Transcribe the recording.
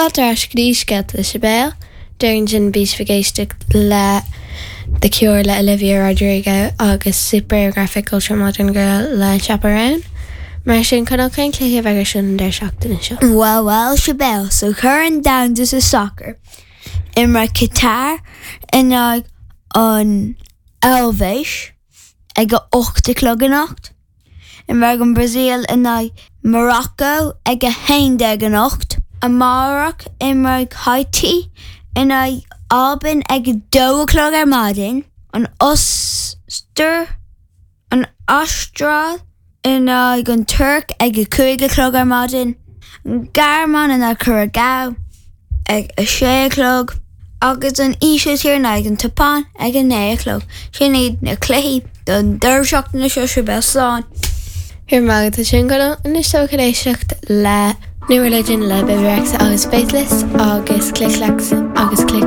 Fáilte ar ais go dtí Scéalta le Sibéal. Déarfainn sin bhí sibh ag éisteacht le The Cure le Olivia Rodrigo agus Supergraphic Ultra Modern Girl le Chappell Roan. Mar sin, Conall, cén cluiche a bheidh ar siúl an deireadh seachtaine seo? Bhuel, bhuel, Sibéal, sa Chorn Domhanda sa Sacar, imreoidh Qatar in aghaidh an Eilvéis ag a 8 a chlog anocht. Imreoidh an Bhrasaíl in aghaidh Morocco ag 11 anocht. Amárach, imreoidh Háítí in aghaidh Albain ag 2 a chlog ar maidin. An Ostair, an Astráil in aghaidh an Tuirc ag 5 a chlog ar maidin. An Ghearmáin in aghaidh Curacao ag 6 a chlog agus an Ísiltír in aghaidh an tSeapáin ag 9 a chlog. Sin iad na cluichí don deireadh seachtaine seo, Sibéal. Slán. Go raibh maith agat as sin, Conall. Anois tá chun éisteacht le New Religion le Bebe Rexha agus Faithless agus Click Clacks agus Click.